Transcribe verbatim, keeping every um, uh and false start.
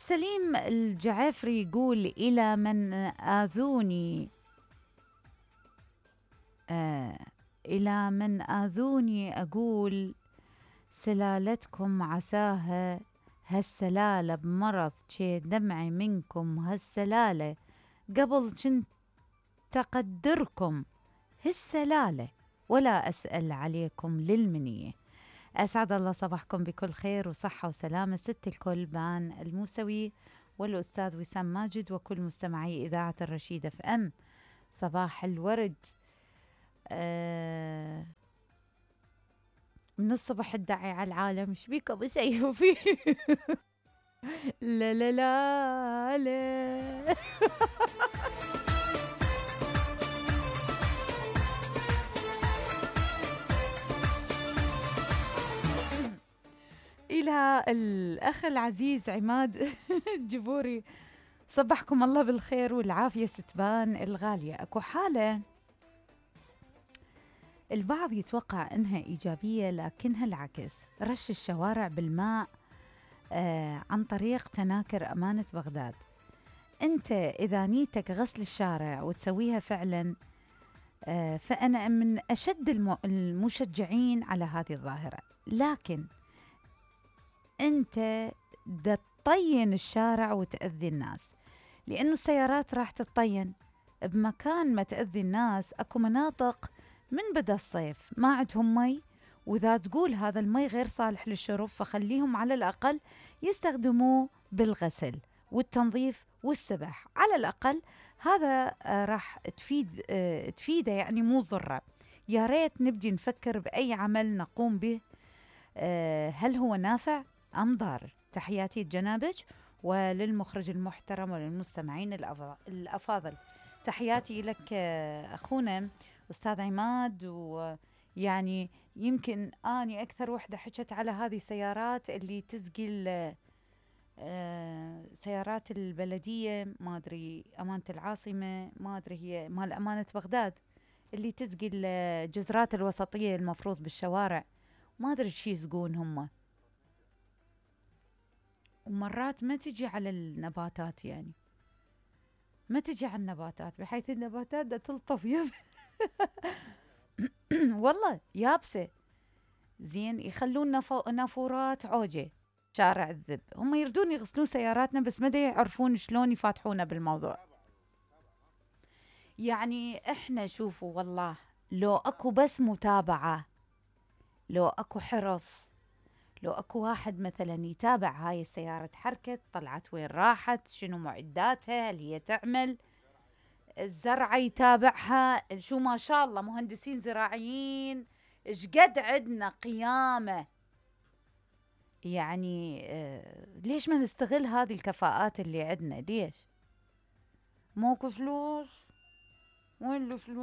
سليم الجعافري يقول: إلى من آذوني آه إلى من آذوني أقول سلالتكم عساها هالسلالة بمرض شي دمعي منكم هالسلالة قبل جنت أقدركم هالسلالة ولا أسأل عليكم للمنية. أسعد الله صباحكم بكل خير وصحة وسلامة ست الكل بان الموسوي والأستاذ وسام ماجد وكل مستمعي إذاعة الرشيدة في أم. صباح الورد. آه من الصبح الداعي على العالم ايش بيكم يسيفوا فيه؟ لا لا لا لا. إلى الأخ العزيز عماد الجبوري: صبحكم الله بالخير والعافية ستبان الغالية. أكو حالة البعض يتوقع أنها إيجابية لكنها العكس، رش الشوارع بالماء آه عن طريق تناكر أمانة بغداد. أنت إذا نيتك غسل الشارع وتسويها فعلا آه فأنا من أشد المشجعين على هذه الظاهرة، لكن أنت دا تطين الشارع وتأذي الناس، لأنه السيارات راح تطين بمكان ما تأذي الناس. أكو مناطق من بدا الصيف ما عندهم مي، وإذا تقول هذا المي غير صالح للشرب فخليهم على الأقل يستخدموه بالغسل والتنظيف والسبح، على الأقل هذا آه راح تفيد آه تفيده يعني مو ضرة. يا ريت نبدي نفكر بأي عمل نقوم به آه هل هو نافع أم ضار. تحياتي لجنابك وللمخرج المحترم وللمستمعين الأفاضل. تحياتي لك أخونا أستاذ عماد. ويعني يمكن أني أكثر وحدة حكت على هذه السيارات اللي تسقي سيارات البلدية، ما أدري أمانة العاصمة، ما أدري هي مال أمانة بغداد، اللي تسقي الجزرات الوسطية المفروض بالشوارع، ما أدري شي يسقون هم، ومرات ما تجي على النباتات، يعني ما تجي على النباتات بحيث النباتات دا تلطف يب والله يابسة زين. يخلون نافو نافورات عوجة شارع الذب، هم يردون يغسلون سياراتنا بس ما يعرفون شلون يفاتحونا بالموضوع. يعني احنا شوفوا والله لو اكو بس متابعة، لو اكو حرص، لو اكو واحد مثلا يتابع هاي السيارة تحركت طلعت وين راحت، شنو معداتها، هل هي تعمل الزرعة يتابعها، شو ما شاء الله مهندسين زراعيين ايش قد عندنا قيامة. يعني آه ليش ما نستغل هذه الكفاءات اللي عندنا؟ ليش؟ موكو فلوس؟ وين الفلوس؟